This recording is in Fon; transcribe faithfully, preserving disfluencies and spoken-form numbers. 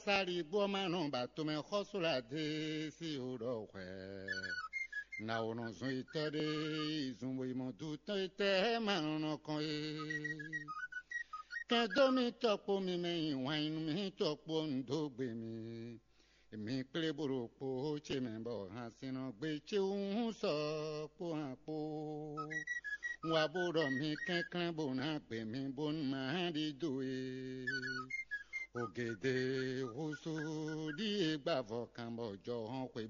Sali gbɔ ma nɔ ba tomɛ xɔsó la de si o ɖɔ hwɛ. Na o nɔ zun itɔ ɖe yi zun bo yi mɔ du tɔn itɛ ma nɔ nɔ kɔn e. Kɛn dó mi tɔ kpo mi mɛ yi wanyinu mi tɔ kpo un dó gbe mi. Mi kplé bó ɖo kpo ce mɛ bɔ hansin nɔ gbe ce wú sɔ kpó han kpó. Un wá bó ɖɔ mi kɛnklɛ́n bó ná gbe mi bónú ma ɖi dó e. Ògèdè húsú ɖíe gbá vɔ kan bɔ jɔhɔn xwe